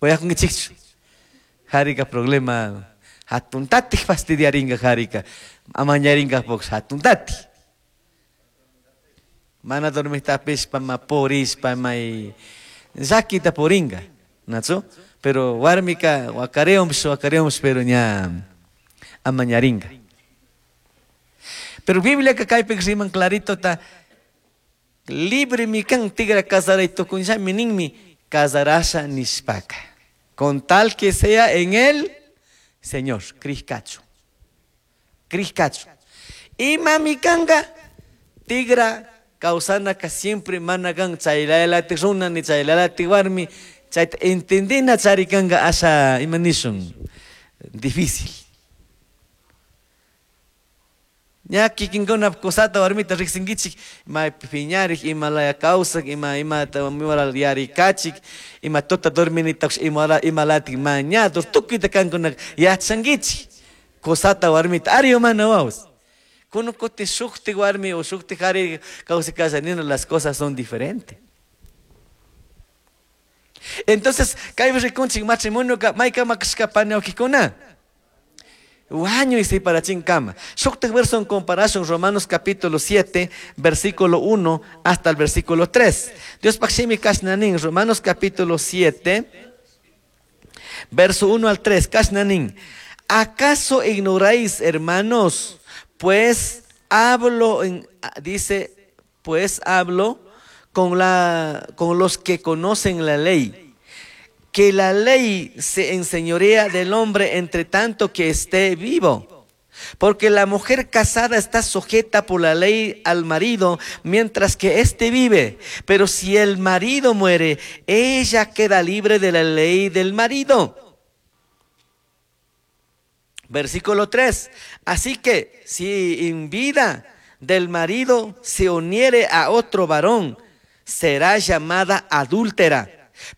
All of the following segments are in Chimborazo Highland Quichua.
Uyakunkichikchu? Harika problema hatuntatik fastidiaringa harika. Amañaringa hatuntatik. Mana dormistapishpa ma purishpa may llakita puringa, ¿nachu? Pero warmika wakareumpish wakareumpish pero ña amañaringa. Pero Bibliaka kaypik riman clarito ta libre mi kan tigra casaray tukunllami ninmi casarasha nishpaka. Con tal que sea en el Señor, Crishkachu. Crishkachu. Imami kanga tigra kawsanaka siempre mana kan chaylalati runa ni chaylalati warmi chayta entendina charikanka asha ima nishun difícil. Ña kikinkuna kusata warmita riqsinkichik ima piñarik ima laya kawsak ima imata yarikachik ima tuta dorminitakush ima imalatik mañadur tukuyta kankuna yachankichik kusata warmita ari mana wawas. Kuno kuti shukti warmi o shukti qhari kawsay las cosas son diferentes. Entonces, kaypi rikunchik matrimonioka maykama kashka pani wawqikuna. Wañuy separachinkama. Shuktik verso en comparación, Romanos capítulo 7, versículo 1 hasta el versículo 3. Diospaj shimi kashna nin, Romanos capítulo 7, verso 1 al 3, kashna nin. ¿Acaso ignoráis, hermanos? Pues hablo, en, dice, pues hablo con los que conocen la ley, que la ley se enseñorea del hombre entre tanto que esté vivo. Porque la mujer casada está sujeta por la ley al marido mientras que éste vive. Pero si el marido muere, ella queda libre de la ley del marido. Versículo 3. Así que si en vida del marido se uniere a otro varón, será llamada adúltera.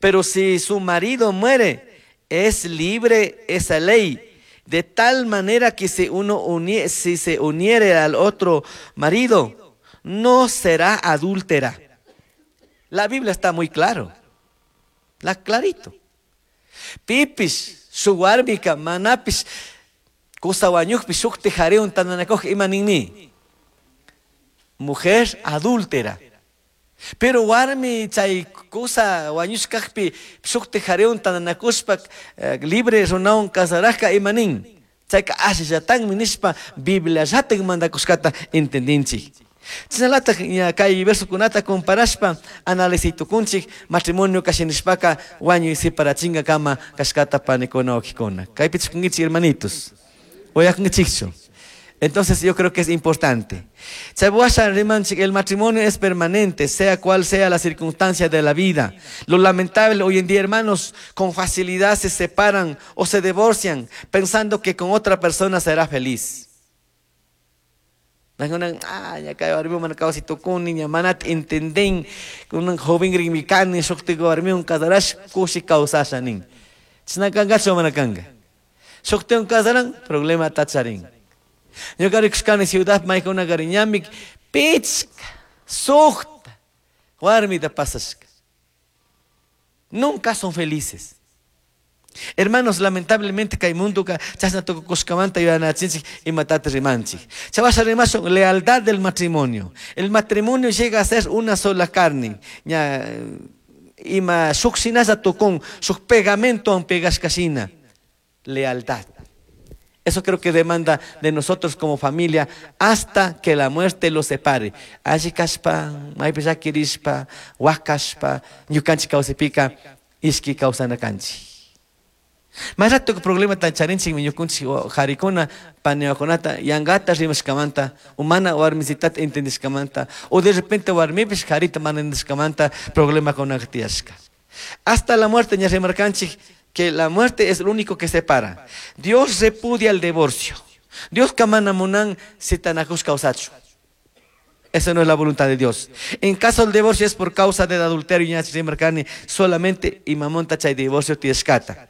Pero si su marido muere, es libre esa ley. De tal manera que si se uniere al otro marido, no será adúltera. La Biblia está muy claro. La clarito. Pipish, shuk warmika, manapish, kusa wañukpi, shukti qhariwan tandanakuj ima ninmi. Mujer adúltera. Pero warmi chay kusa wañushkajpi shukti qhariwan tandanakushpa libre runawan casarajka ima nin. Chayka ashallatanmi nishpa Bibliallatak mandakushkata entendinchik. Chashnallatak ña kay versokunata comparashpa analizay tukunchik matrimonio kashinishpaka wañuy separachingakama kashkata panikuna wawqikuna. Kaypi chikunkichik, hermanitos. Uyakunkichikchu. Entonces yo creo que es importante. Chabuasha rimanchik, el matrimonio es permanente, sea cual sea la circunstancia de la vida. Lo lamentable hoy en día, hermanos, con facilidad se separan o se divorcian pensando que con otra persona será feliz. Ah, ya kay warmi mana kawsay tukuni, ña manata entenden, kunan joven rinmi kani, shukti warmiwan casarash, kushi kawsasha nin. Chashna kankachu mana kanka. Shuktiwan casaran, problema tacharin. Ñuka rikushkani ciudad maykuna ñamik pichka, sukta, warmita pasashka. Nunca son felices. Hermanos, lamentablemente kay mundoka chashna tukukushkamanta yuyanachinchik imatata rimanchik. Chavasha rimashun lealtad del matrimonio. El matrimonio llega a ser una sola carne. Ña ima shuk shinalla tukun, shuk pegamento pegashkashina. Lealtad. Eso creo que demanda de nosotros como familia hasta que la muerte los separe. Alli kashpa, maypi llakirishpa, wakashpa, ñukanchik kawsaypika, ishki kawsana kanchik. Más rato problema tan charinchik ñukunchik qarikuna paniwakunata yankata rimashkamanta o mana warmisitata entendishkamanta o de repente warmipish qarita mana entendishkamanta problemakunaka tiyashka. Hasta la muerte ña rimarkanchik que la muerte es lo único que separa. Dios repudia el divorcio. Dios mana munan sitanakush kawsachu. Esa no es la voluntad de Dios. En caso del divorcio es por causa del adulterio, ña rimarkani solamente imamonta chay divorcio tiyashkata.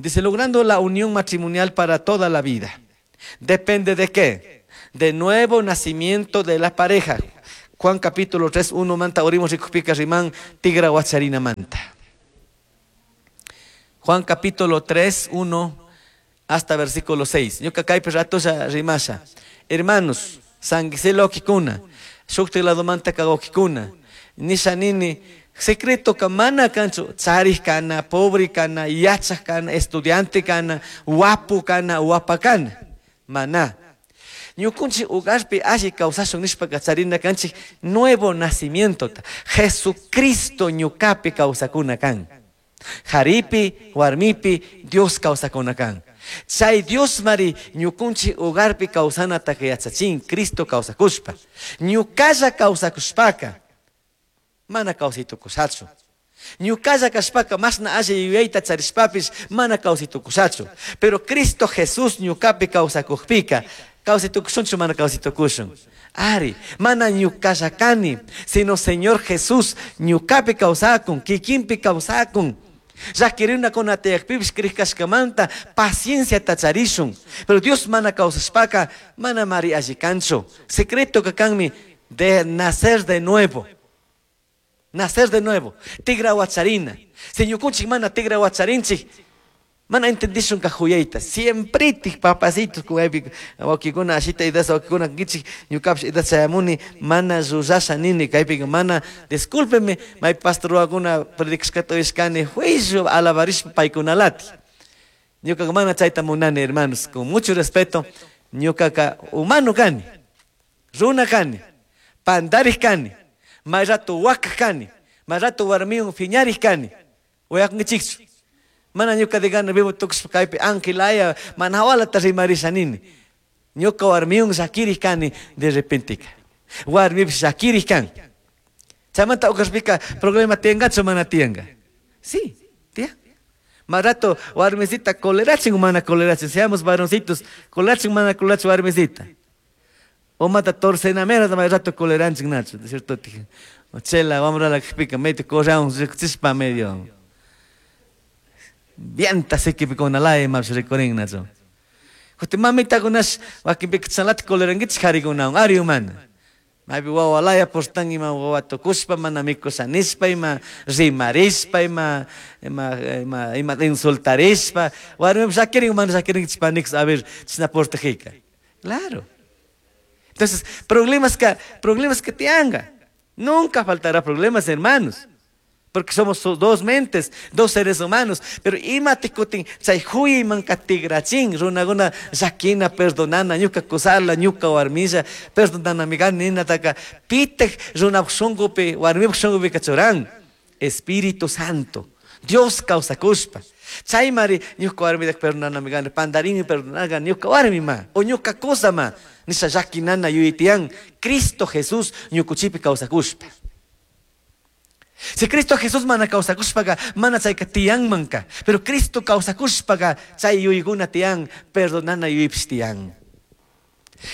Dice, logrando la unión matrimonial para toda la vida. ¿Depende de qué? De nuevo nacimiento de la pareja. Juan capítulo 3, 1 manta, orimos rikupika riman, tigra wacharina manta. Juan capítulo 3, 1 hasta versículo 6. Ñuka kaypi ratolla rimasha. Hermanos, sanguiselo kikuna, shukti ladomanta kagokikuna, nisha nini, secreto ka mana kanchu, charij kana, pobre kana, yachaj kana, estudiante kana, wapu kana, wapa kana. Mana. Ñukunchik hogarpi alli kawsashun nishpaka charina kanchik nuevo nacimientota. Jesucristo ñukapi kawsakuna kan. Jaripi, warmipi, Dios kawsakuna kan. Chay Dios mari ñukunchik hogarpi kawsanataka yachachin, Cristo kawsakushpa. Ñukalla kawsakushpaka, mana kawsaytukushachu. Ñukalla kashpaka mashna alli yuyayta charishpapish mana kawsaytukushachu. Pero Cristo Jesús ñukapi kawsakukpika, kawsaytukushunchu mana kawsaytukushun. Ari, mana ñukalla kani, sino Señor Jesús ñukapi kawsakun, kikinpi kawsakun. Llakirina tiyakpipish krikashkamanta pacienciata charishun. Pero Dios mana kawsashpaka, mana mari alli kanchu. Secreto kanmi de nacer de nuevo. Nacer de nuevo. Tigra wacharina. Si ñukunchik mana tigra wacharinchik, mana entendishun ka juyayta. Siempre tik papacitos kuyaypi wakikuna ashita idasa wakikuna kichik ñukapish idasa chayamuni mana rurasha nini kaypika mana discúlpeme may pastor wakuna predicashkata uyashkani juicio alabarishpa paykunalati. Ñukaka mana chayta munani hermanos, con mucho respeto, ñukaka humano kani, runa kani, pandarij kani, may rato wakaj kani, may rato warmiwan phiñarij kani, uyakunkichikchu. Mana ñuka de gana vivo tukushpa kaypi angelaya mana hawalata rimarisha nini. Ñuka warmiwan llakirij kani de repentika. Warmipish llakirij kan. Chaymanta uqashpika problema tiyankachu mana tiyanka. Sí, tiyan. Más rato warmisita colerachin o mana colerachin, seamos varoncitos, colerachin mana colerachin warmisita. O mata torcenamera más rato coleраnchin nacho, ¿de cierto? O chela, vamos a la que medio correamos, chispa medio. Vienta se que con la ma rekorin nacho. Justo mamita kunas wakinpika chanlata colerankichik harikunawan ari humana. Maypi wawalaya portan ima wawa tukushpa mana mikusha nishpa ima rimarishpa ima ima ima ima insultarishpa warmipish llakirin mana llakirinkichik panikis a ver chishna portajika. Claro. Entonces, problemas que tianga. Nunca faltará problemas, hermanos. Porque somos dos mentes, dos seres humanos. Pero ima tikutin, chay huyman katigrachin, runaguna llakina, perdonana, ñuka kusala, ñuka warmilla, perdonana migan nina taka, pitej runap shungupi, warmip shungupi kachuran. Espíritu Santo, Dios kawsakushpa. Chay mari, ñuka warmidak perdonana migan, pandarini perdonaga, ñuka warmi ma, o ñuka kusa ma, nisha llakinana yuyitian, Cristo Jesús ñukuchipi kawsakushpa. Si Cristo Jesús mana kawsakushpaqa mana chayka tiyanmanka, pero Cristo kawsakushpaqa chay yuyguna tiyan, perdonana yuypish tiyan.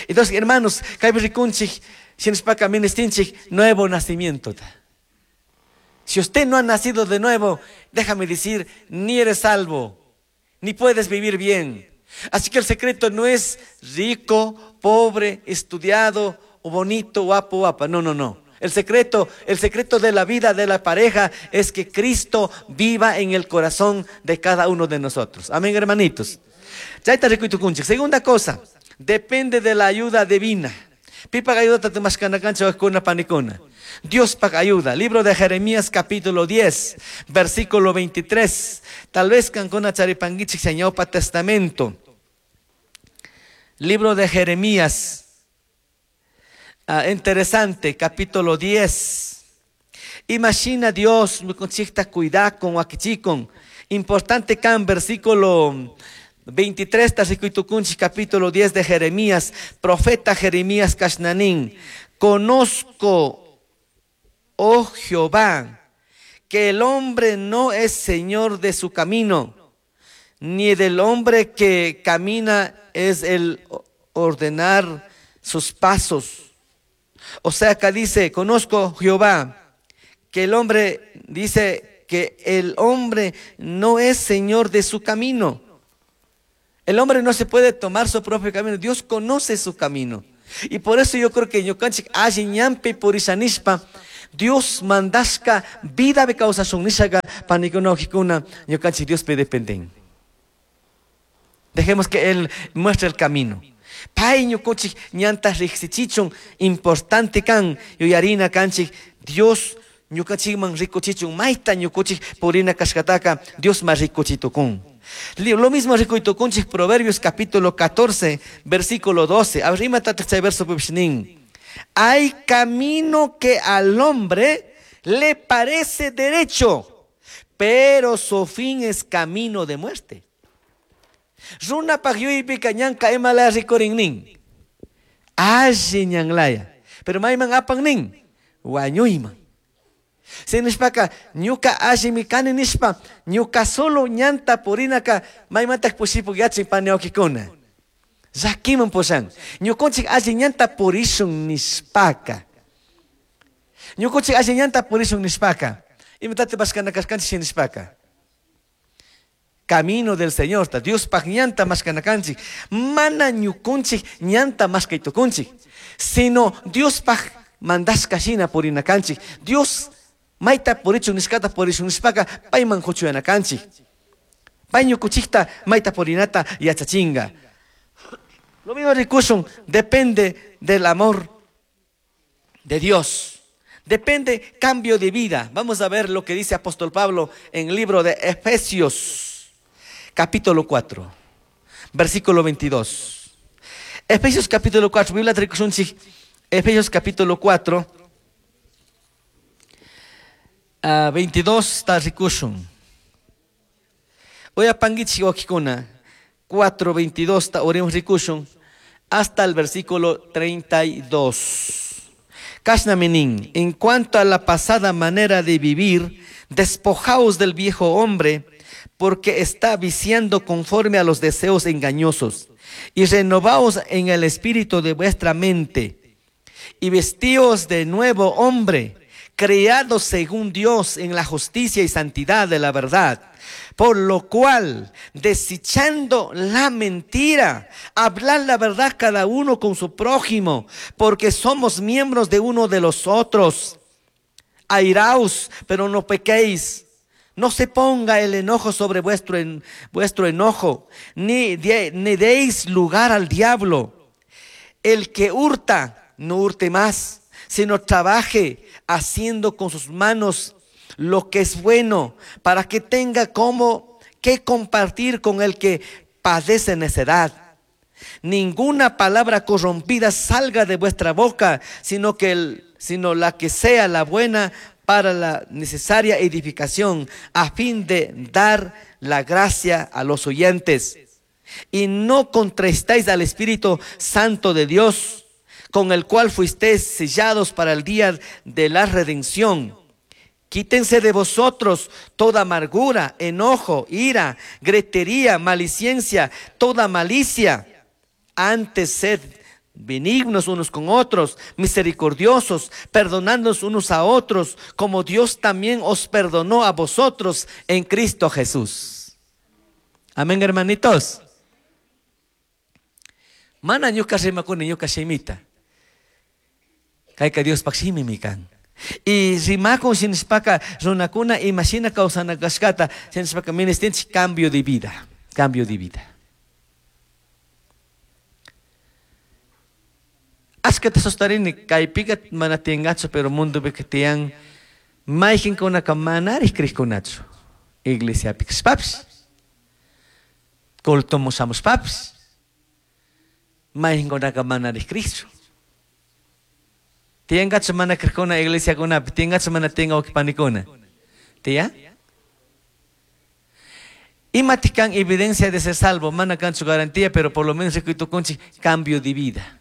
Entonces, hermanos, kaypi rikunchik, shinashpaka ministinchik nuevo nacimiento. Si usted no ha nacido de nuevo, déjame decir, ni eres salvo, ni puedes vivir bien. Así que el secreto no es rico, pobre, estudiado, o bonito, guapo, guapa. No, no, no. El secreto de la vida de la pareja es que Cristo viva en el corazón de cada uno de nosotros. Amén, hermanitos. Chayta rikuytukunchik. Segunda cosa, depende de la ayuda divina. Pipa ayuda tatumashkanakancha wajkuna panikuna. Dios paga ayuda. Libro de Jeremías capítulo 10, versículo 23. Tal vez kankuna charipanguichik señopa testamento. Libro de Jeremías. Ah, interesante, capítulo 10. Imagina Dios, ñukanchikta cuidakun, wakichikun. Importante kan versículo 23, tarikuytukunchik, capítulo 10 de Jeremías, profeta Jeremías Kashnanín. Conozco, oh Jehová, que el hombre no es señor de su camino, ni del hombre que camina es el ordenar sus pasos. O sea, acá dice, conozco Jehová, que el hombre, dice que el hombre no es señor de su camino. El hombre no se puede tomar su propio camino. Dios conoce su camino. Y por eso yo creo que ñukanchik alli ñanpi purishanishpa, Dios mandashka vida be kawsashun nishaga Panikuna, wawkikuna, ñukanchik Diospi dependen. Dejemos que Él muestre el camino. Pay ñukunchik ñanta riqsichichun importante kan yuyarina kanchik Dios ñukanchikman rikuchichun mayta ñukunchik purina kashkataka Dios ma rikuchitukun. Lo mismo rikuytukunchik Proverbios capítulo 14, versículo 12. A ver, imatataq chay verso nin. Hay camino que al hombre le parece derecho, pero su fin es camino de muerte. Runapaj yuyaypika ñanka imalaya rikurin nin. Alli ñanlaya. Pero mayman apan nin. Wañuyman. Sinishpaka ñuka allimi kani nishpa ñuka solo ñanta purinaka maymantak pushipuk yachin pani wawkikuna. Llakiman pushan. Ñukunchik alli ñanta purishun nishpaka. Ñukunchik alli ñanta purishun nishpaka. Imatataq mashkana kashkanchik nishpaka. Camino del Señor, Diospaj ñanta mashkana kanchik. Mana ñukunchik ñanta mashkay tukunchik. Sino Diospaj mandashka shina purina kanchik. Dios mayta purichun nishkata purishun nishpaka payman kuchuyana kanchik. Pay ñukunchikta mayta purinata yachachinga. Lo mismo rikushun depende del amor de Dios. Depende cambio de vida. Vamos a ver lo que dice apóstol Pablo en el libro de Efesios, capítulo 4, versículo 22. Efesios capítulo 4, Biblia rikushunchik, Efesios capítulo 4, 22 ta rikushun. Uyapanguichik wawkikuna, 4, 22 ta oremos rikushun, hasta el versículo 32. Kashnami nin, en cuanto a la pasada manera de vivir, despojaos del viejo hombre, porque está viciando conforme a los deseos engañosos, y renovaos en el espíritu de vuestra mente, y vestíos de nuevo hombre, creado según Dios en la justicia y santidad de la verdad. Por lo cual, desechando la mentira, hablad la verdad cada uno con su prójimo, porque somos miembros de uno de los otros. Airaos, pero no pequéis. No se ponga el enojo sobre vuestro enojo, ni deis lugar al diablo. El que hurta, no hurte más, sino trabaje haciendo con sus manos lo que es bueno, para que tenga como que compartir con el que padece necedad. Ninguna palabra corrompida salga de vuestra boca, sino la que sea la buena para la necesaria edificación, a fin de dar la gracia a los oyentes. Y no contristéis al Espíritu Santo de Dios, con el cual fuisteis sellados para el día de la redención. Quítense de vosotros toda amargura, enojo, ira, gritería, maledicencia, toda malicia. Antes sed benignos unos con otros, misericordiosos, perdonándonos unos a otros, como Dios también os perdonó a vosotros en Cristo Jesús. Amén, hermanitos. Mana ñuka rimakuni ñuka shimita. Kayka Diospaj shimimi kan. Y rimakun shinishpaka runakuna imashina kawsana kashkata shinishpaka ministinchik cambio de vida, cambio de vida. Ashkata sostarini kaypika mana tiyangachu, pero mundopika tiyan mayqinkunaka manarij kriykunachu. Iglesiapi kashpapish, cultoman shamushpapish, mayqinkunaka manarij kriychu. Tiyangachu mana krikuna iglesiakunapi, tiyangachu mana tiyan wawqipanikuna. Tiyan? Imatik kan evidencia de ser salvo, mana kanchu garantía, pero por lo menos rikuytukunchik cambio de vida.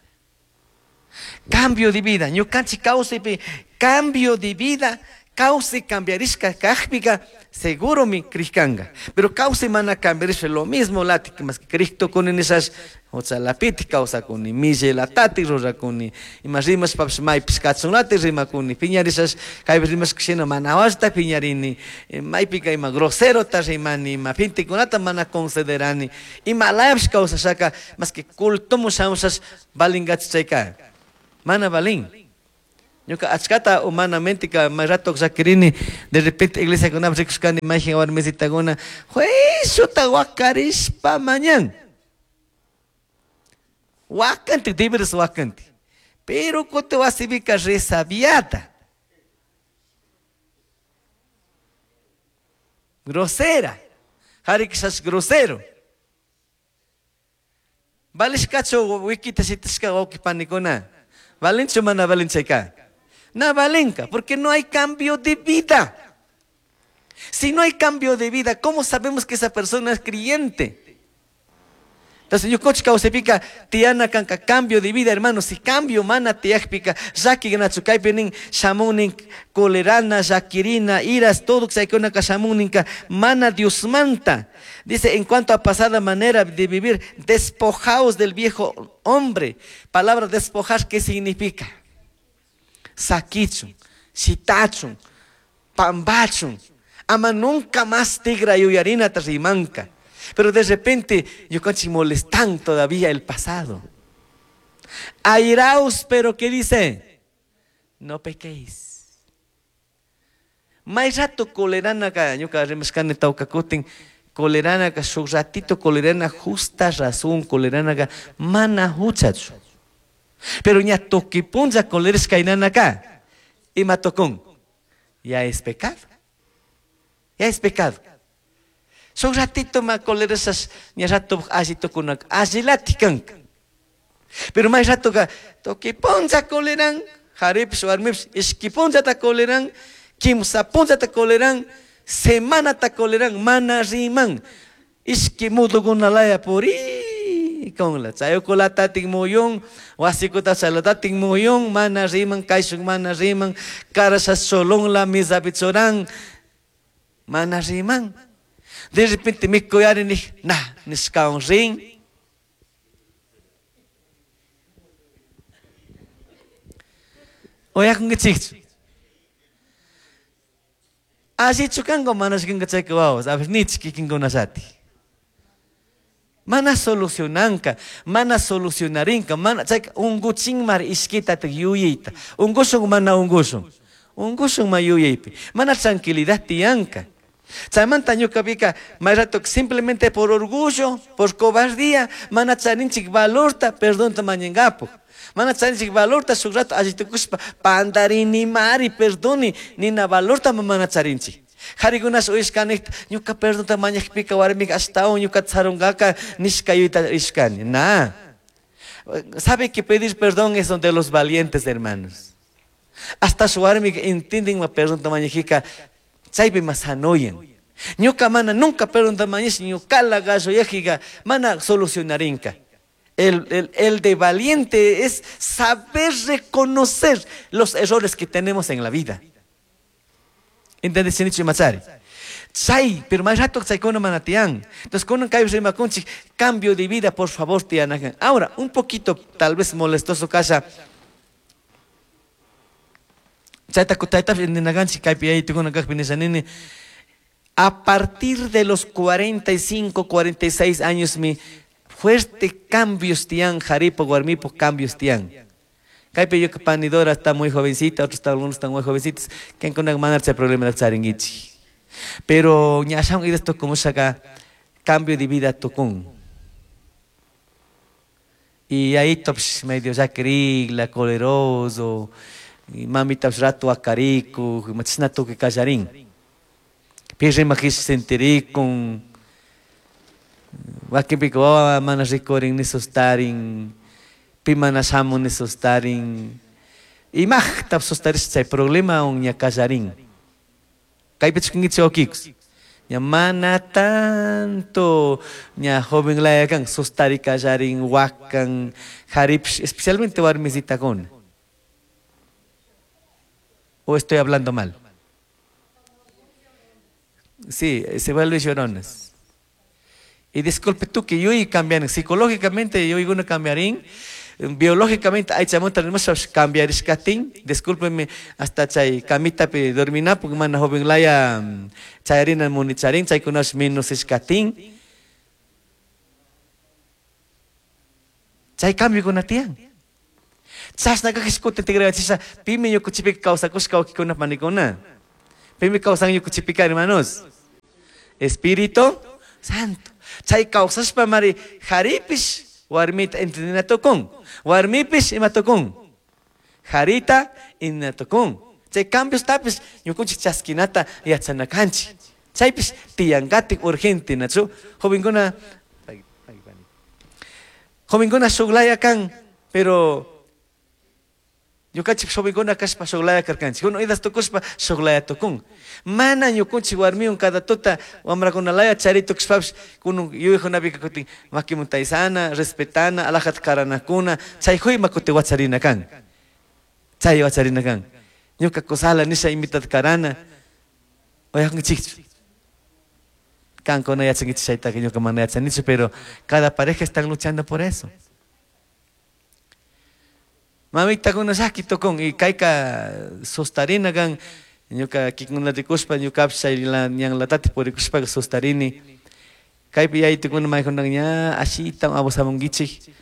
Cambio de vida, ñukanchik kawsaypi cambio de vida, kawsay cambiarishka kajpika, seguromi krishkanga. Pero kawsay mana cambiarishka lo mismo latik, más que krishtukuni nishash, huchalapitik kawsakuni, millaylatati rurakuni, ima rimashpapish maypish kachunlati rimakuni, piñarishash kaypi rimashka shina mana washta piñarini, maypika ima groserota rimani, ima pintikunata mana considerani, ima layapish kawsashaka, más que cultomun shamushash valingachu chayka. Mana valin. Ñuka achkata humanamente ka may rato llakirini, de repente iglesiakunapi rikushkani mayjin warmisitakuna juiciota wakarishpa mañan. Wakanti, deberes wakanti. Pero kutin wasipika resabiada. Grosera. Harikishash grosero. Valishkachu wikita shitashka wawqi panikuna. Valinchu mana valinchayka? Na valinka, porque no hay cambio de vida. Si no hay cambio de vida, ¿cómo sabemos que esa persona es creyente? Entonces, ñukanchik kawsaypika tiyana kanka cambio de vida, hermano. Si cambio mana tiyakpika, llaki ganachu kaypi nin shamunin colerana, llakirina, iras, todo chaykunaka shamuninka mana Diosmanta. Dice, en cuanto a pasada manera de vivir, despojaos del viejo hombre. Palabra despojar, ¿qué significa? Sakichun, shitachun, pambachun. Ama nunca más tigra yuyarina rimanka. Pero de repente, ñukanchik molestan todavía el pasado. Airaos, pero ¿qué dice? No pequéis. May rato colerana ka, ñuka rimashkani tawka kutin, colerana ka, shuk ratito colerana, justa razón colerana ka, mana huchachu. Pero ña tuki punlla colerishka inana ka, ima tukun, ya es pecado. Ya es pecado. Shuk ratito ma colerishas, ña rato alli tukunak, allilati kanka. Pero may rato ka, tuki punlla coleran, jaripish warmipish, ishki punllata coleran, kimsa punllata coleran, semanata coleran, mana riman. Ishki mudukunalaya puri konla. Chayukulatatin muyun, wasikuta chalatatin muyun, mana riman, kayshuk mana riman, karasha cholonla, misapi choran, mana riman. De repente mikuyari nij, na, nishkawan rin. Oyakunkichikchu. Allichu kanka manachu kanka chayka wawas, a ver, nichik kikinkunallati. Mana solucionanka, mana solucionarinka, mana chayka unguchinmar ishkita yuyayta. Ungushun mana ungushun. Ungushun ma yuyaypi. Mana tranquilidad tiyanka. Chaymanta ñukapika may rato simplemente por orgullo, por cobardía, mana charinchik valorta, perdonta mañangapo. Mana charinchik valorta shuk rato allitukushpa pandarini mari perdoni, nina valorta mana charinchik. Harikunash uyashkanikta ñuka perdonta mañakpika warmika ashtawan ñuka tsarunkaka nishka yuyta ishkani. Na. Sabe que pedir perdón es donde los valientes, hermanos. Hasta su warmika entienden ma perdonta mañajika, chaypi mas sanoyan. Ñuka mana nunca perdonta mañash, ñukala gallo yajiga, mana solucionarinka. El de valiente es saber reconocer los errores que tenemos en la vida. ¿Entendés, Sinicho y Machari? Chay, pero más rato chaykuna mana tiyan. Entonces, kunan kay rimakunchik, cambio de vida, por favor, tiyanajan. Ahora, un poquito, tal vez molestoso kasha. Chayta kutayta ninaganchik kaypi yaytukuna kaqpi nishanini. A partir de los 45, 46 años, mi fuerte cambios tiyan, jaripo, warmipo, cambios tiyan. Kaypi yo panidora está muy jovencita, otros están, algunos están muy jovencitos, que con una manera problema de charinguichi. Pero ñashan esto como saca cambio de vida tocón. Y ahí tops medio ya la coleroso, y mami taps rato acarico, y machina toque callarín. Pirri majis sentiricon, wakipico mana ricorin ni sostarin. Pimana shamun ni sostarin. Y maj tap sostaris chay problema on ña callarín. Kaypi chikinkichik wakikus. Ña mana tanto ña joven laya kan sostari callarín, wakan, jaripish, especialmente warmisitakuna. ¿O estoy hablando mal? Sí, se vuelve lloronas. Y disculpe tú que yo y cambian psicológicamente, yo y uno cambiarín. Biológicamente hay chamonta tenemos cambiar escatín, discúlpeme hasta chay camita pe dormina porque mana joven laya chayarina monicharín chay kunas menos escatín. Chay cambio con atian. Chashna kajish kutin tigrayachisha pimi ñukuchipika kawsakushka wawkikuna panikuna. Pimi kawsan ñukuchipika, hermanos. Espíritu Santo. Chay kawsashpa mari haripish warmita entendina tukun. Warmipish ima tukun. Harita entendina tukun. Chay cambios tapish ñukunchik chaskinata yachana kanchik. Chaypish tiyankatik urgente, nachu? Jovenkuna, jovenkuna shuklaya kan, pero ñukanchik jovenkuna kashpa shuklaya karkanchik. Uno idas tukushpa shuklaya tukun. Mana ñukunchik warmiwan cada tuta wamrakunalaya chari tukushpapish kunun yuyaykunapika kutin makimuntaysana, respetana, alajata karanakuna, chay huyma kutin wacharina kan. Chay wacharina kan. Ñuka kusala nisha invitata karana. Uyakunkichikchu. Kankuna yachankichik chaytaka ñuka mana yachanichu, pero cada pareja están luchando por eso. Mamitakuna llaki tukun y kayka sustarina kan ñuka kikuna rikushpa ñukapish chay ñanlatati purikushpaka sustarini. Kaypi yaytukuna maykunaka ña ashita abusamunkichik,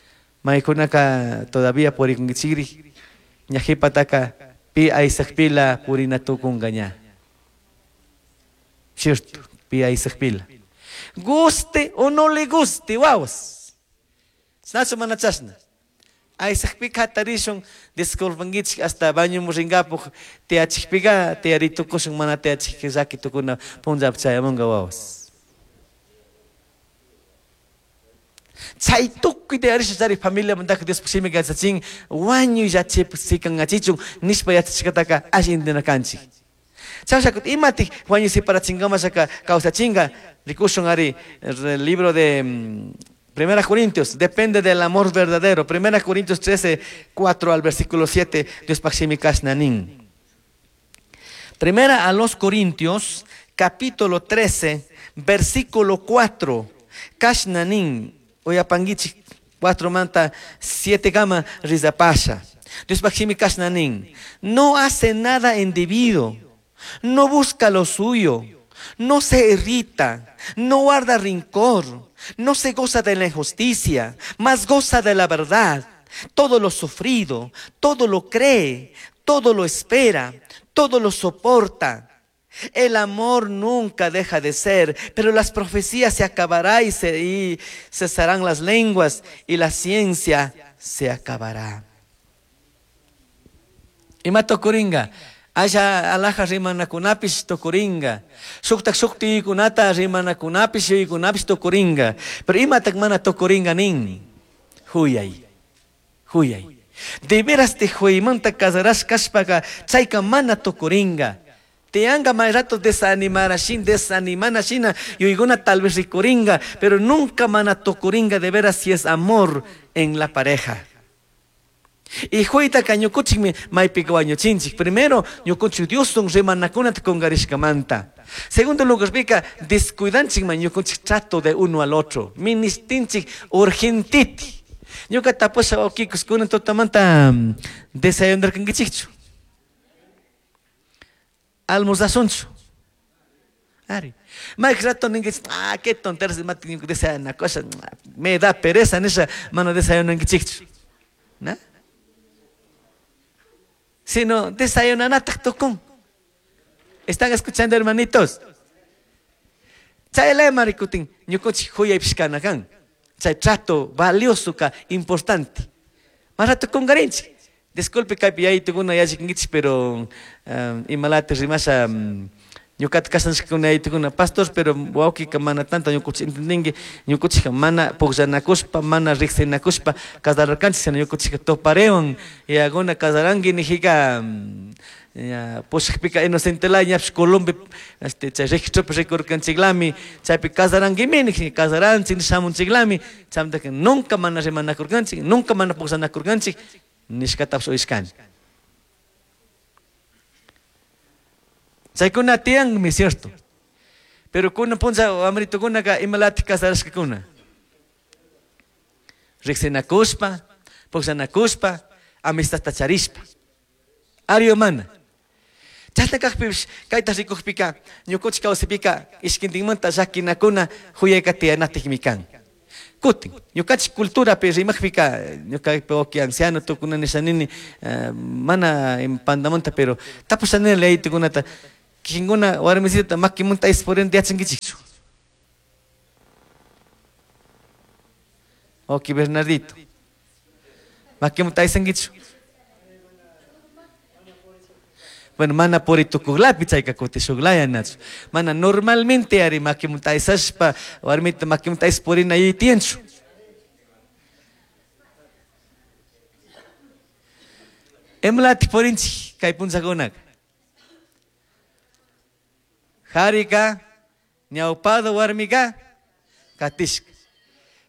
maykunaka todavía purikunkichikri, ña qhipataka pi aysakpila purina tukunka ña. Cierto, pi aysakpila. Guste o no le guste, wawas. Chashnachu mana chashna. Aysakpika hatarishun, disculpankichik hasta bañomun rinkapuq tiyachikpika tiyaritukushun mana tiyachikpi llaki tukuna punllapi chayamunka wawas. Chay tukuy tiyarisha chari familiamantaka Diospaj shimika yachachin wañuy llachipak sikankachichun nishpa yachachishkataka alli entendina kanchik. Chashna imatik wañuy separachinkamashaka kawsachinka rikushun ari el libro de Primera Corintios, depende del amor verdadero. Primera Corintios 13, 4 al versículo 7, Diospaj shimi kashna nin. Primera a los Corintios, capítulo 13, versículo 4, kashna nin, uyapankichik, 4 manta 7 kama rizapasha. Diospaj shimi kashna nin, no hace nada indebido, no busca lo suyo, no se irrita, no guarda rencor, no se goza de la injusticia, mas goza de la verdad. Todo lo sufrido, todo lo cree, todo lo espera, todo lo soporta. El amor nunca deja de ser, pero las profecías se acabará y cesarán las lenguas y la ciencia se acabará. Ima tukuringa, Asha alaja rimanakunapish tukuringa. Shuktak shuktiykunata rimanakunapish yuykunapish tukuringa. Pero imatak mana tukuringa nin. Huyay. Huyay. De veras te huymanta casarás kashpaka chayka mana tukuringa. Tianga may rato desanimarashin, desanimanashina, yuyguna tal vez rikuringa, pero nunca mana tukuringa de veras si es amor en la pareja. Y huytaka ñukuchikmi maypika wañuchinchik. Primero, ñukunchik Dioswan rimanakunata kungarishkamanta. Segundo lugar, pika descuidanchikman ñukunchik trato de uno al otro. Ministinchik urgentiti. Ñuka tapusha wawkikus kunan tutamanta desayunarkankichikchu. Almorzasunchu. Ari. Mayk rato ninkichik, ah, qué tonteras, mati ñuka desayunakusha, me da pereza nisha mana desayunankichikchu. ¿Na? Sino desayunanatak tukun. ¿Están escuchando, hermanitos? Chay marikutin, ñukunchik huyaypish kana kan. Chay trato valioso ka importante. Mas rato kungarinchik. Disculpe kaypi yaytukuna yallikinkichik, pero imalati rimasha ñukata kashanchikuna yaytukuna pastor, pero wawkika mana tanto ñukunchik entendinki, ñukunchikka mana pukllanakushpa, mana riqsinakushpa casararkanchik, sino ñukunchikka toparewan yaguna casaranki nijika ya pushakpika inocentela ñapish Colombia chay registropi rikurkanchiklami, chaypi casarankimi niji, casaranchik nishamunchiklami, chaymantaka nunca mana rimanakurkanchik, nunca mana pukllanakurkanchik nishkatapish uyashkani. Chaykuna tiyanmi, cierto. Pero kunan puncha wamritukunaka imalatik casarashkakuna. Riqsinakushpa, pukllanakushpa, amistadta charishpa. Ari o mana. Chashna kajpipish kayta rikukpika, ñukunchik kawsaypika ishkintinmanta llakinakuna huyayka tiyanatikmi kan. Kutin, ñukanchik culturapi rimaqpika ñuka wawki anciano tukuna nisha nini mana pandamanta, pero tapusha nini leytukunata kikinkuna warmisitata makimunta aysapurinata yachankichikchu. Wawki Bernardito, makimunta aysankichu. Bueno, mana puri tukuqlapi chayka kuti shuqlaya nachu. Mana normalmente ari makimunta aysashpa warmita makimunta aysas purina yuyay tiyanchu. Imalatik purinchik kay punllakunaka. Harika ñawpado warmika katishka.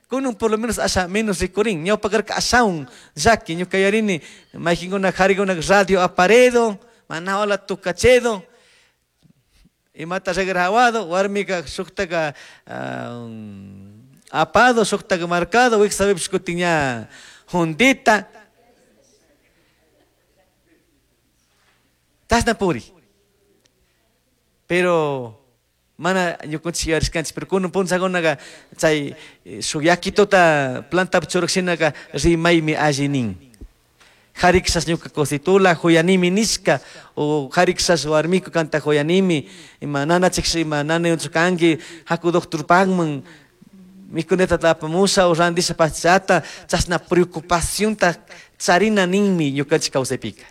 Kunun por lo menos asha menos rikurin, ñawpa karka ashawan llaki, ñuka yuyarini maykinkuna harikuna radio aparedo, mana wala tucachedo, imata regrabado, warmika shuktaka apado, shuktaka marcado, wiksapipish kutin ña jundita. Chashna puri. Pero mana ñukanchik yuyarishkanchik, pero kunan punllakunaka chay shuk yakituta plantapi churak shinaka rimaymi alli nin. Harikshas ñuka cositula huyanimi nishka, o harikshas warmiku kanta huyanimi, ima nanachiksh ima nanayunchu kanki, haku doctorpakman, mikunata apamusha o randisha pachata, chashna preocupacionta charina ninmi ñukanchik kawsaypika.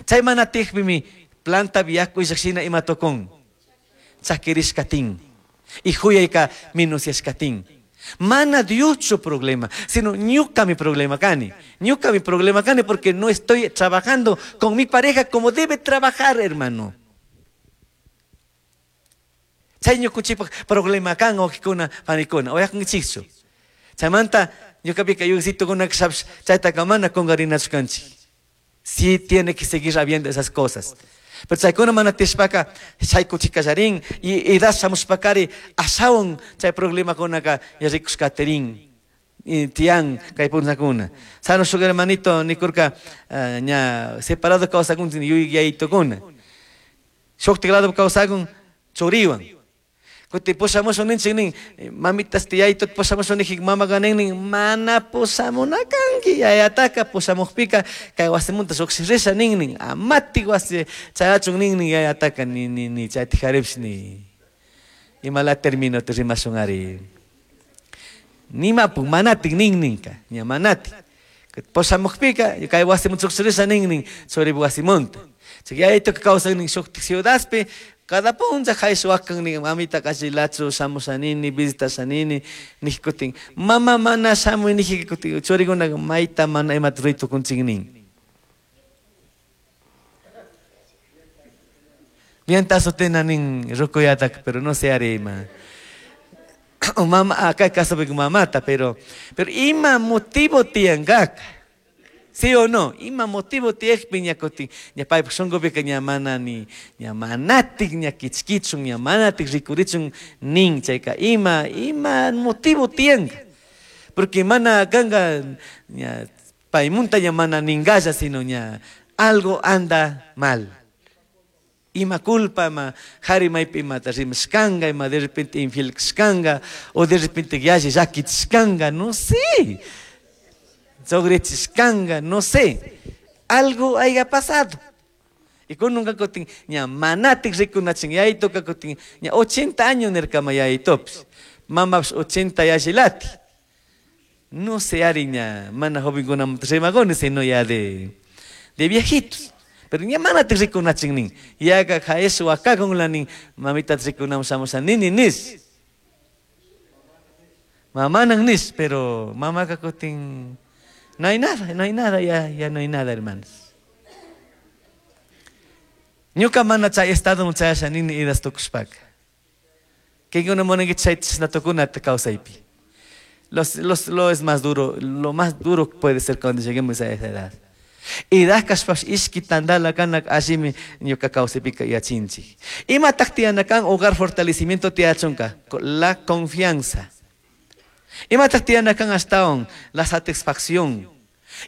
Chay mana tiyakpimi plantapi yaku illak shina ima tukun, chakirishkatin, y huyayka minuciashkatin. Mana Dioschu problema, sino ñuka mi problema kani. Ñuka mi problema kani porque no estoy trabajando con mi pareja como debe trabajar, hermano. Chay ñukunchikpak problema kan wawqikuna panikuna, uyakunkichikchu. Chaymanta ñukapika yuyaysitukuna kashapish chaytaka mana kunkarinachu kanchik. Sí tiene que seguir habiendo esas cosas. Pero chaykuna mana tiyashpaka shaykuchikallarin y edad shamushpakari ashawan chay problemakunaka rikushkatirin tiyan kay punllakuna. Sano shuk hermanito nikurka ña separado kawsakunchik yuyaytukuna. Shuktik lado kawsakun churiwan. Kuti pushamushun ninchik nin, mamitas tiyaytut pushamushun nijik mamaqa nin nin, mana pushamuna kanki, yayataka pushamukpika kay wasimunta lluqshirisha nin nin, amatik wasi chayachun nin nin yayataka ni ni ni chaytik jaripsh ni. Imala termino te rimashun ari. Nimapuk manatik nin ninka, ña manatik. Pushamukpika kay wasimunta lluqshirisha nin nin, churipu wasimunta. Chay yayituka kawsak nin shuktik ciudadpi, cada punlla haysh wakan nin mamita kashilachu shamushanini visitashanini nij kutin mama mana shamuy nijika kutin churikunaka mayta mana imata ruray tukunchik nin. Mientras sotena nin rukuyataka, pero no sé ari ima. O mama, acá casapi mamata, pero ima motivo tiyankaka. ¿Sí o no? Ima motivo tiyakpi ña kutin, ña paypak shunkupika ña mana ni, ña manatik, ña kichkichun, ña manatik rikurichun nin chayka. Ima, ima motivo tiyanka. Porque mana kanka, ña paymunta ña mana ningalla, sino ña algo anda mal. Ima culpa, ima jari maypi imata rimashkanka, ima de repente infiel kashkanka, o de repente yalli llakichishkanka, no sé. Sogrichishkanka, no sé. Algo haya pasado. Y con nunca kutin, ña manatik rikunachin, yayitoka kutin, ña 80 años nirkama yayitopis. Mamapis 80 yallilati. No sé, ari ña mana jovenkunamanta rimagoni, sino ya de viejitos. Pero ña manatik rikunachin nin. Yaga jaesh wakakunla nin, mamita rikunam shamusha nini nis. Mamanan nis, pero mamaka kutin... No hay nada, no hay nada, ya, ya no hay nada, hermanos. Ñuka mana chay estado chayasha nini idas tukushpaka. Kinkuna munanki chay chashna tukunata kawsaypi. Lo es más duro, lo más duro puede ser cuando lleguemos a esa edad. Edad kashpash ishki tandala kanak allimi ñuka kawsaypika yachinchik. Imataq tiyana kan hogar fortalecimiento tiyachunka, la confianza. Imataq tiyana kan ashtawan la satisfacción.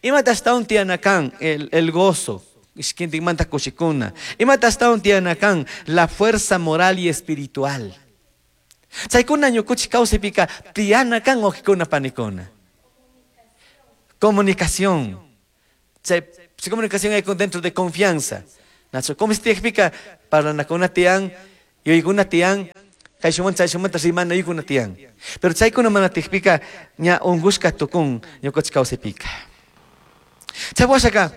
Imataq ashtawan tiyana kan el gozo. Ishkintikmanta kushikuna. Imataq ashtawan tiyana kan la fuerza moral y espiritual. Chaykuna ñukuchik kawsaypika tiyana kan wawqikuna panikuna. Comunicación. Chay comunicación hay dentro de confianza. Nacho, ¿cómo se tiyakpika parlanakuna tiyan, yuyaykuna tiyan, kayshumanta chayshumanta rimana yuyaykuna tiyan. Pero chaykuna mana tiyakpika ña unkushka tukun ñukanchik kawsaypika. Chay washaka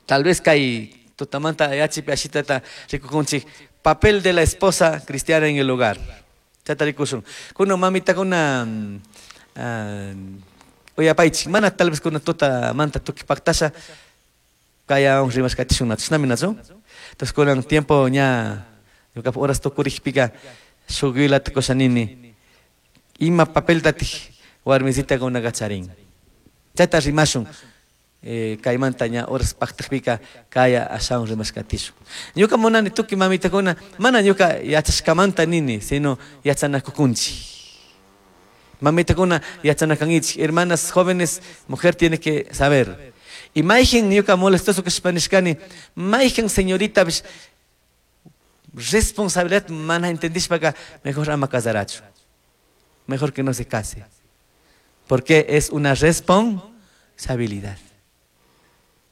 tal vez kay tutamanta yachipi ashitata rikukunchik papel de la esposa cristiana en el hogar. Chayta rikushun. Kuna mamitakuna uyapaychik mana tal vez kuna tutamanta tukuy paktasha kaya rimashkatishun chashnami nachu. Entonces kunan tiempo ña ñukapak horas tukurikpika shuk yuyalata kusha nini ima papeltatik warmisitakunaka charin. Chayta rimashun. Kaymanta ña horas paktakpika kaya ashawan rimashkatishun. Ñuka munani tukuy mamitakuna mana ñuka yachashkamanta nini, sino yachanakukunchik. Mamitakuna yachanakankichik. Hermanas jóvenes, mujer tiene que saber. Y mayjin ñuka molestoso kashpa nishkani, mayjin señorita responsabilidad mana entendishpaka mejor ama casarachu. Mejor que no se case. Porque es una responsabilidad.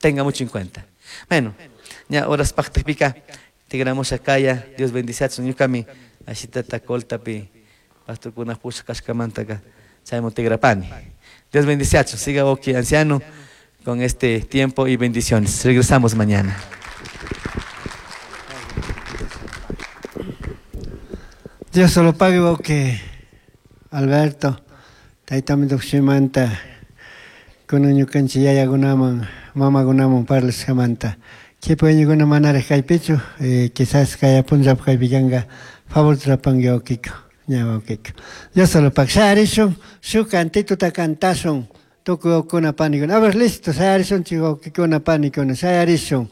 Tenga mucho en cuenta. Bueno, ya horas paktakpika tigramusha kaya, Dios bendice ñukami ashitata coltapi pastorkuna pusha kashkamantaka chayman tigrapani. Dios bendice siga oki anciano con este tiempo y bendiciones. Regresamos mañana. Dios solo pague que Alberto, taytami tuqshimanta kunan ñukanchik yayakunaman mamakunaman parlashkamanta. Kipa manaraq kaypichu, quizás kay punllapaq kaypi kanka favor trapanki wawqiyku, ña wawqiyku. Dios solo pague. Shayarishun, shuk cantituta cantashun, tukuy wawqikuna panikuna. A ver, listo, shayarishunchik wawqikuna panikuna, shayarishun.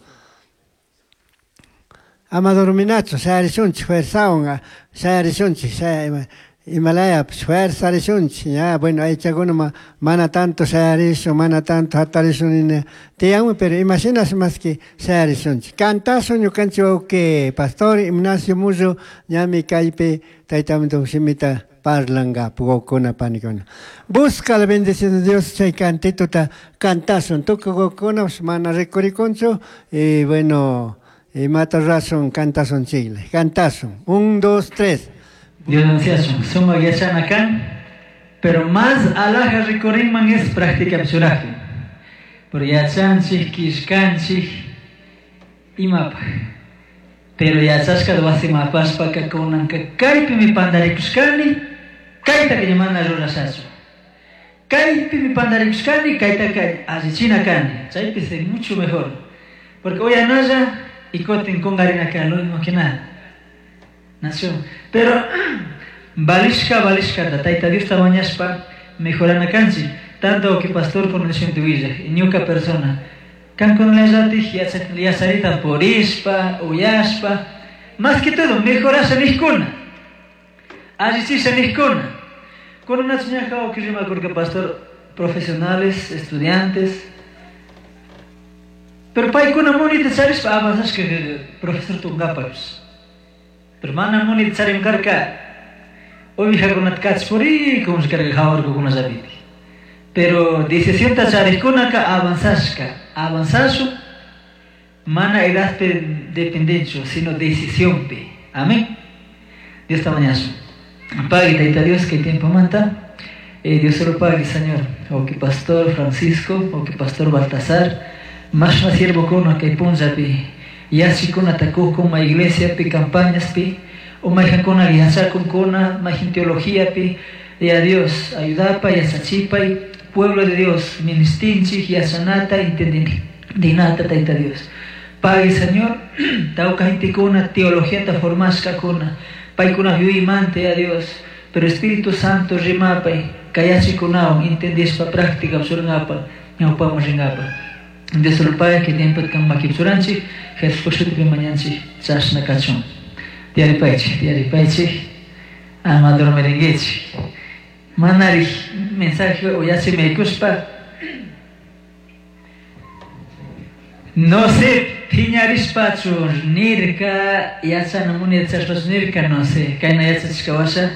Ama dorminachu, shayarishunchik, fuerzawan, shayarishunchik, Himalaya, fuerza rishunchik, ya, bueno, aychakuna mana tanto shayarishun, mana tanto hatarishun nina tiyanmi, pero imashinas más que shayarishunchik. Cantashun ñukanchik wawqi pastor Ignacio Mullo, ñami kaypi taytami shimita parlangapu wawqikuna panikuna. Busca la bendición de Dios, chay cantituta cantashun, tukuy wawqikuna mana rikurikunchu, y bueno, imata rurasun cantashun chikla, cantashun. 1, 2, 3. Dios anciasun, suma yachana kan, pero más alaja rikurinman es práctica psuraje. Por yachanchik, kishkanchik, imapaj. Pero yachashka wasimapashpaka kunanka kaypi mi pandarikushkani, kaytaka ñamana rurashachu. Kaypi mi pandarikushkani, kaytaka allichina kani. Chaypi es mucho mejor. Porque hoy anaya y kotin kungarina kan, lo mismo que nada. Nación. Pero balishka balishka tayta Dios mañashpa mejorana kanchi, tanto que pastor con el villa, ñuka persona. Kan con la yatij yacharita porishpa, uyashpa, más que todo mejorasha nijkuna. Allichisha nijkuna. Con una chuñaja que rima porque pastor profesionales, estudiantes. Pero paykuna munita charishpa avanzashka profesor tungapash. Pero mana munit charim karka ovejakunata kachpuri como se carga jawarkukuna llapiti. Pero decisionta charikkunaka avanzashka, avanzashu mana edadpi dependenchu, sino decisionpi. Amén. Dios ta mañashu. Pague tayta Dios que tiempo manta. Dios solo pague, Señor. O que pastor Francisco, o que pastor Baltasar, más más siervo kuna kay punllapi. Yachikuna takukun ma iglesia pi campañas pi, o mayjankuna yachakunkuna, mayjin teología pi, y a Dios ayudapa, yachachipa, y pueblo de Dios, ministinchik, yachanata, entendinata, tayta Dios. Pague, Señor, tauka gentekuna, teología ta formashkakuna, paykuna yuymante a Dios, pero Espíritu Santo rimapay, kayachikunawan, entendishpa práctica churangapa, ñawpaman ringapa. Dios lo pague que tiempo kan makipchuranchik, Jesús shutipi mañanchik, chashna kachun. Tiyaripaychik, tiyaripaychik, ama dormiringuichik. Manari mensaje uyachi maykushpa, no sé, piñarishpachu nirka, yachana muni yachashpachu nirka, no sé, kayna yachachishka washa.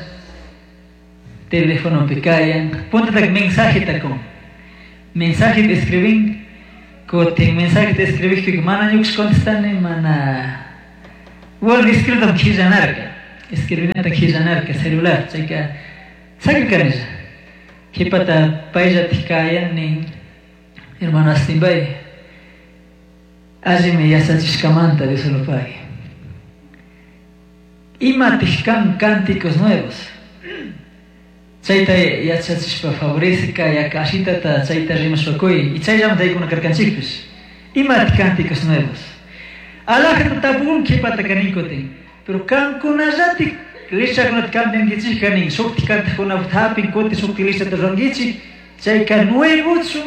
Telefonopi kayan, puntatak mensajeta kun. Mensaje escribin, kutin mensaje escribijpika mana ñukash contestani, mana... Bueno, escritam qillanarka, escribinata qillanarka celular, chayka sakirkanilla. Qhipata payllatik kayan nin, hermano Astimbay, allimi yachachishkamanta Dios lo pague. Imatik kan cánticos nuevos. Chayta yachachishpa favorece yaka ashitata chayta rimashpa kuy y chayllamanta aykuna karkanchikpish. Imatik cánticos nuevos. Alajata tapukun qhipata kanin kutin. Pero kankunallatik lichakunata cambiankichik kanin, shuktik cantikunapaq hapin kutin shuktik lichata rurankichik, chayka nuevochu,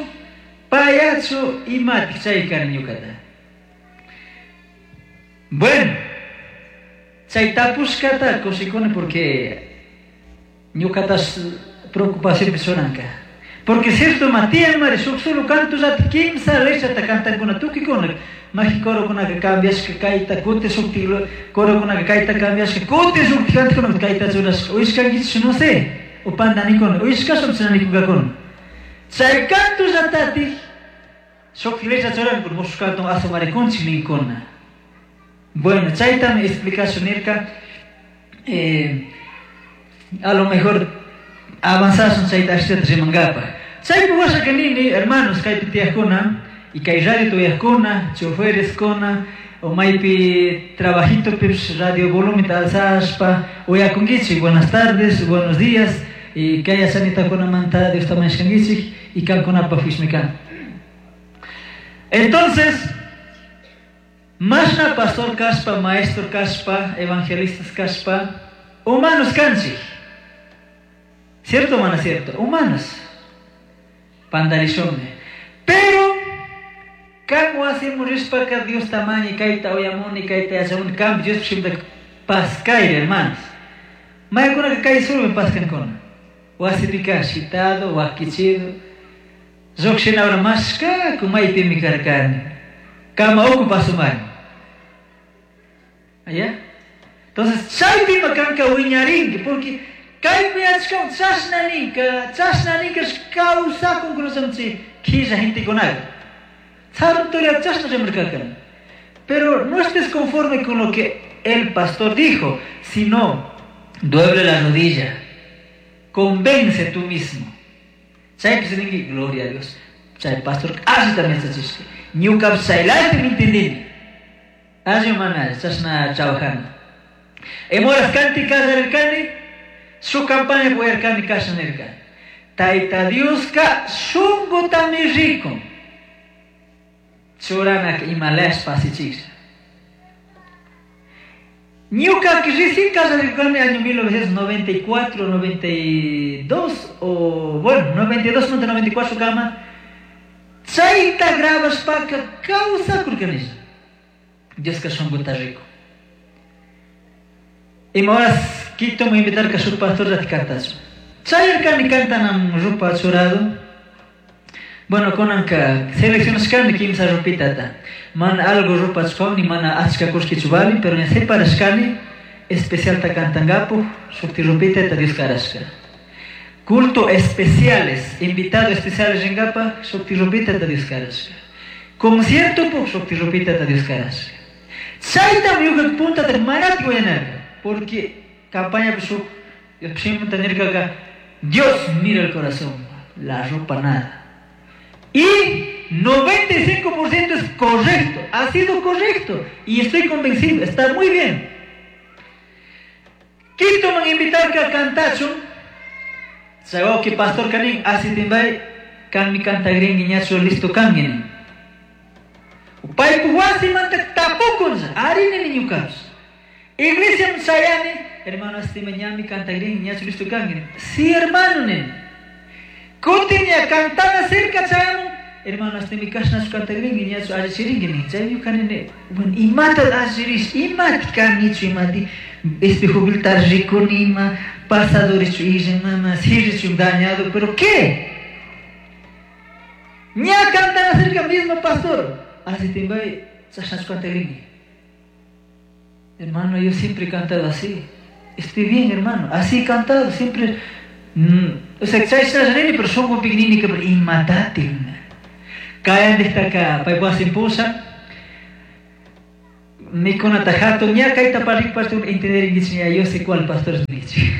payachu, imatik chay kanin ñukata. Bueno, chay tapushkata kushikuni porque ñukatas preocupacionpi churanka. Porque cierto Matías mari shuk solo cantollata kimsa lechata cantankuna tukikuna, maji corokunaka cambiashka kayta, kutin shuktik corokunaka kayta cambiashka, kutin shuktik cantokunaka kayta churashka, uyashkankichik no sé, o pandanikuna, uyashkashun chinanikunkakuna. Chay cantollatatik shuktik lecha churankuna, mushuq canton asumarikunchik ninkuna. Bueno, chaytami explicación nirka, a lo mejor avanzasun chayta ashtata rimankapaq. Chaypi washaka nini, hermanos, kaypi tiyaqkuna, y kay radio tuyaqkuna, chofereskuna, o maypi trabajitopish radio volumenta alzashpa uyakunkichik, buenas tardes, buenos días, y kay yachanitakunamanta Dios tamayashkankichik, y kankunapaq fishmi kan. Entonces, mashna pastor kashpa, maestro kashpa, evangelistas kashpa, humanos kanchik. ¿Cierto o mana cierto? Humanos. Pandarishunmi. Pero, kan wasimu rishpaka Dios tamañi kayta uyamuni kayta yachamuni kan Dios shimta paskayri, hermanos. Maykunaka kay surmi paskankuna. Wasipika shitado, wakichido. Lluqshinawra mashkaku maypimi karkani. Kama uku pasumari. ¿Allá? Entonces, chaypima kanka wiñarinki, porque kaypi yachkan chashna ninka, chashna ninka kawsakun kunasamchi killa gentekunaka. Sarunturia chashna rimarkakan. Pero no estés conforme con lo que el pastor dijo, sino doble la rodilla, convence tú mismo. Chaypi ninki, gloria a Dios. Chay pastor alli también chachishka. Ñuka chaylati mi entendini. Alli mana chashna trabajando. Emoras kanti kallarkani, su campaña puerkani kashanirka. Taita Dioska shungutami rico. Churanak imalash pasichik. Ñuka recién kallarkani año 1994, 92 o bueno, 92, 94 kama. Chayta grabashpaka kawsakurkanisha. Dioska shunguta rico. Ima horas Quito me invitar a su pastor de cantas. Chayarkani cantanam rupa churado. Bueno, konanka seleccionashkani kimsa rupitata. Mana algo rupa chukawni, mana achka kushki chubali, pero en separashkani especial ta cantangapu, shukti rupita ta Dios karashka. Culto especiales, invitado especiales ringapa, shukti rupita ta Dios karashka. Concierto pu, shukti rupita ta Dios karashka. Chayta miuka punta ta manati wayanarka, porque campaña Dios mira el corazón, la ropa nada. Y 95% es correcto, ha sido correcto y estoy convencido, está muy bien. Quito man invitar que cantacho. Sabe que pastor kanin así timbay kan mi canta gringuiñacho listo kan. Paipu wasi manta tapukunza, arini niñukas. Iglesia msayani, hermano asti mañami canta gringuiñacho listo kan. Sí, hermano nen. Kutinya cantana cerca chayamun, hermano asti mi kashna su canta gringuiñacho ajichiringini. Chayu kanene, bueno, imata ajiris, imati kanichu imati. Este jubiltar rico nima, pasadores chu mama, sirrichu dañado, pero ¿qué? Ña cantana cerca mismo pastor. Así te voy, chashna canta gringui. Hermano, yo siempre he cantado así. Estoy bien, hermano. Así he cantado, siempre. O sea, chashna nini, pero shunqupika nini pero imatatik. Kayandijtaka paypuk wasin pushan mikunata hatun ña kayta parlak pastor entenderinkichik ña yo sé cuál pastor nichik.